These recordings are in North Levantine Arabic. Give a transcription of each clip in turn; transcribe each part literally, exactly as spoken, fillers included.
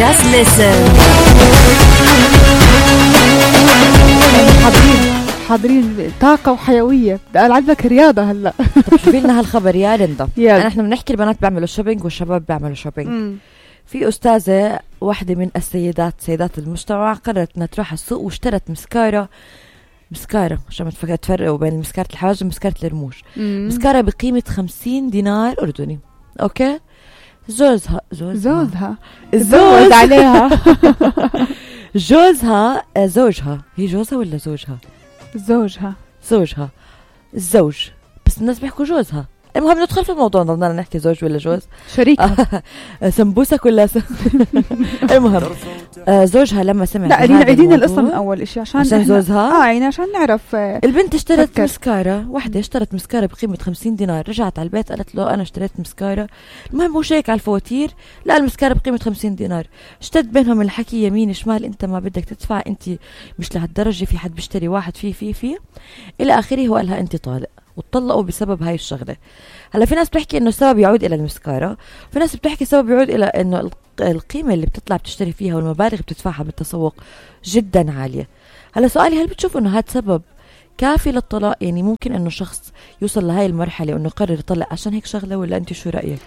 Just listen. حاضرين حاضرين طاقة وحيوية. بدي ألعبك رياضة هلا. طب شوفي لنا هالخبر يا ليندا. يلا. نحن بنحكي البنات بيعملوا شوبينج والشباب بيعملوا شوبينج. مم. في أستاذة واحدة من السيدات سيدات المجتمع قررت أنها تروح السوق واشترت مسكارة مسكارة عشان ما تفكر تفرقوا بين مسكارة الحواجب ومسكارة الرموش. مم. مسكارة بقيمة خمسين دينار أردني. أوكي. زوجها زوجها زوجها الزوج زوج عليها. جوزها زوجها هي جوزها ولا زوجها زوجها زوجها الزوج بس الناس بيحكوا جوزها. المهم ندخل في الموضوع ضلنا نحكي زوج ولا جوز شريكها. سمبوسك ولا س... المهم آه زوجها لما سمع لا رينا عيدين القصة من أول إشي عشان عشان زوجها اه يعني عشان نعرف. آه البنت اشترت فكر. مسكارة واحدة اشترت مسكارة بقيمة خمسين دينار. رجعت على البيت قالت له أنا اشتريت مسكارة. المهم هو شيك على الفواتير لا المسكارة بقيمة خمسين دينار. اشتد بينهم الحكي يمين شمال انت ما بدك تدفع انت مش لهالدرجة في حد بيشتري واحد فيه فيه فيه إلى آخره. هو قالها انت طالق واتطلقوا بسبب هاي الشغلة. هلا في ناس بتحكي انه السبب يعود الى المسكارة. في ناس بتحكي السبب يعود الى انه القيمة اللي بتطلع بتشتري فيها والمبالغ بتدفعها بالتسوق جدا عالية. هلا سؤالي هل بتشوف انه هذا سبب كافي للطلاق؟ يعني ممكن انه شخص يوصل لهاي المرحلة وانه يقرر يطلق عشان هيك شغلة ولا انت شو رأيك؟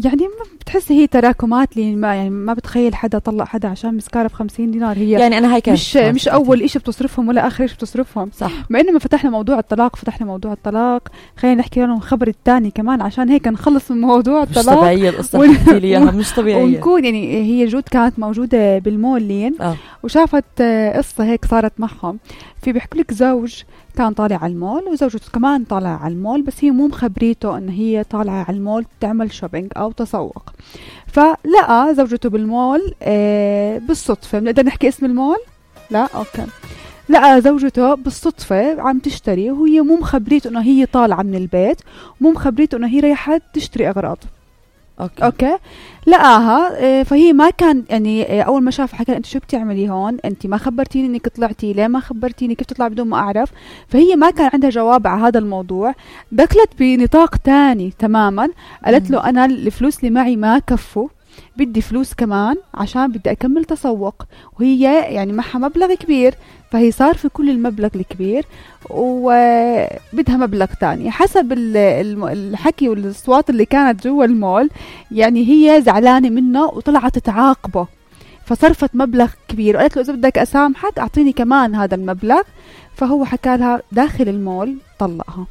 يعني ما بتحسي هي تراكمات لي ما يعني ما بتخيل حدا طلق حدا عشان مسكارة بخمسين دينار. هي يعني انا هاي كانت مش مش اول اشي بتصرفهم ولا اخر اشي بتصرفهم. صح. ما انما فتحنا موضوع الطلاق فتحنا موضوع الطلاق خلينا نحكي لهم الخبر الثاني كمان عشان هيك نخلص من موضوع مش الطلاق. طبيعية القصة ون... حكيتي لي اياها مش طبيعية. ونكون يعني هي جود كانت موجودة بالمول لين آه. وشافت آه قصة هيك صارت معهم. في بيحكوا لك زوج كان طالع على المول وزوجته كمان طالعة على المول بس هي مو مخبريته ان هي طالعة على المول تعمل شوبينج او تسوق. فلقى زوجته بالمول آه بالصدفة. بنقدر نحكي اسم المول؟ لا اوكي. لقى زوجته بالصدفة عم تشتري وهي مو مخبريته انه هي طالعة من البيت مو مخبريته انه هي رايحة تشتري اغراض. أوكي. اوكي لقاها. فهي ما كان يعني اول ما شاف حكى انت شو بتعملي هون انت ما خبرتيني انك طلعتي ليه ما خبرتيني كيف تطلع بدون ما اعرف. فهي ما كان عندها جواب على هذا الموضوع. دخلت بنطاق تاني تماما. قالت له انا الفلوس اللي معي ما كفوا بدي فلوس كمان عشان بدي أكمل تسوق. وهي يعني معها مبلغ كبير فهي صار في كل المبلغ الكبير وبدها مبلغ تاني. حسب الحكي والأصوات اللي كانت جوا المول يعني هي زعلانة منه وطلعت تعاقبه فصرفت مبلغ كبير وقالت له إذا بدك أسامحك أعطيني كمان هذا المبلغ. فهو حكى لها داخل المول طلقها.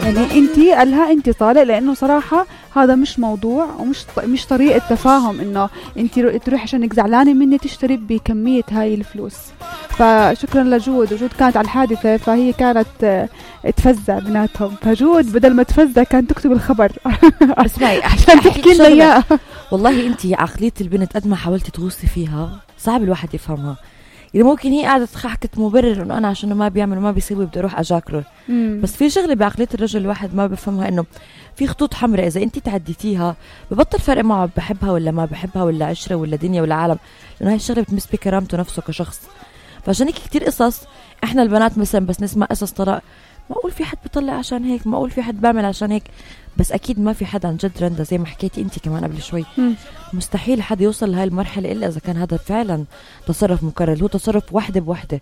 يعني انتي قالها انتي طالق لانه صراحة هذا مش موضوع ومش مش طريقة تفاهم انه انتي تروح عشانك زعلانة مني تشتري بكمية هاي الفلوس. فشكرا لجود. وجود كانت على الحادثة فهي كانت تفزع بيناتهم. فجود بدل ما تفزع كانت تكتب الخبر. اسمعي عشان تحكي لنا اياه. والله انتي عقلية البنت قد ما حاولتي تغوصي فيها صعب الواحد يفهمها. يعني ممكن هي قاعدة حكت مبرر انه انا عشان ما بيعمل وما بيسوي بدي اروح اجاكره. بس في شغله بعقليه الرجل الواحد ما بفهمها انه في خطوط حمراء اذا انت تعديتيها ببطل فرق معه بحبها ولا ما بحبها ولا عشره ولا دنيا ولا عالم لانه هاي الشغله بتمس بكرامته نفسه كشخص. فعشان هيك كتير قصص احنا البنات مثلا بس نسمع قصص طلاق ما اقول في حد بيطلع عشان هيك ما اقول في حد بعمل عشان هيك. بس اكيد ما في حد عن جد رندا زي ما حكيتي انت كمان قبل شوي. مم. مستحيل حد يوصل لهي المرحله الا اذا كان هذا فعلا تصرف مكرر. هو تصرف وحده بوحده.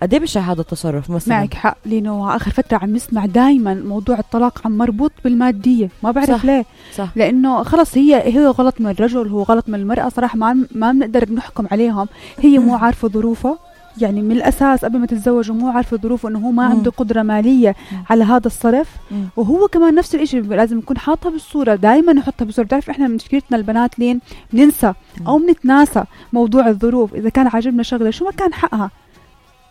قد ايه بشع هذا التصرف مثلا. معك حق لانه اخر فتره عم نسمع دائما موضوع الطلاق عم مربوط بالماديه. ما بعرف صح. ليه. صح. لانه خلص هي هي غلط من الرجل هو غلط من المراه. صراحه ما ما بنقدر نحكم عليهم. هي مو عارفه ظروفه يعني من الأساس قبل ما تتزوجوا مو عارفة ظروفه إنه هو ما عنده قدرة مالية على هذا الصرف. وهو كمان نفس الإشي لازم يكون حاطها بالصورة دائما نحطها بالصورة. تعرف إحنا مشكلتنا البنات لين بننسى أو بنتناسى موضوع الظروف. إذا كان عاجبنا شغلة شو ما كان حقها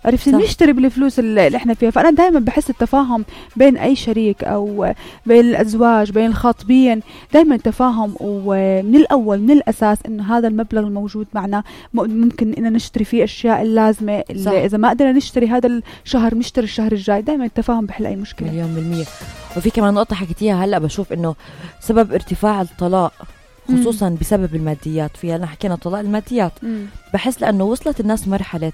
عرفتي نشتري بالفلوس اللي احنا فيها. فأنا دائما بحس التفاهم بين أي شريك أو بين الأزواج بين الخاطبين دائما تفاهم ومن الأول من الأساس إنه هذا المبلغ الموجود معنا ممكن إن نشتري فيه أشياء اللازمة اللي إذا ما قدرنا نشتري هذا الشهر نشتري الشهر الجاي. دائما التفاهم بحل أي مشكلة مليون بالمية. وفي كمان نقطة حكيتيها هلأ بشوف إنه سبب ارتفاع الطلاق خصوصا مم. بسبب الماديات. في هلا حكينا طلاق الماديات. مم. بحس لأنه وصلت الناس مرحلة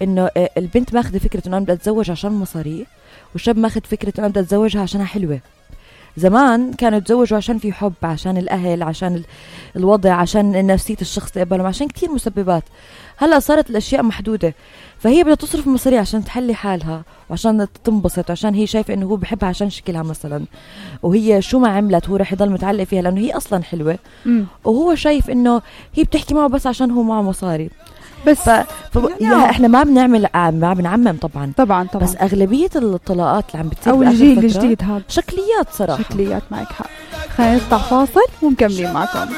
انه البنت ماخذه فكره انه انا بدي اتزوج عشان مصاري والشاب ماخذ فكره انه انا بدي اتزوجها عشانها حلوه. زمان كانوا يتزوجوا عشان في حب، عشان الأهل، عشان الوضع، عشان نفسية الشخص تقبلهم، عشان كتير مسببات. هلأ صارت الأشياء محدودة، فهي بدها تصرف مصاري عشان تحلي حالها وعشان تنبسط، وعشان هي شايفة إنه هو بحبها عشان شكلها مثلا، وهي شو ما عملت هو رح يضل متعلق فيها لأنه هي أصلا حلوة. م. وهو شايف إنه هي بتحكي معه بس عشان هو معه مصاري بس. ف... ف... يعني احنا ما بنعمل ما بنعمم طبعا طبعا طبعا، بس أغلبية الطلاقات اللي عم بتصير أو الجيل الجديد هذا شكليات صراحة، شكليات. معك حق. خلينا نطلع فاصل ومكملين معكم.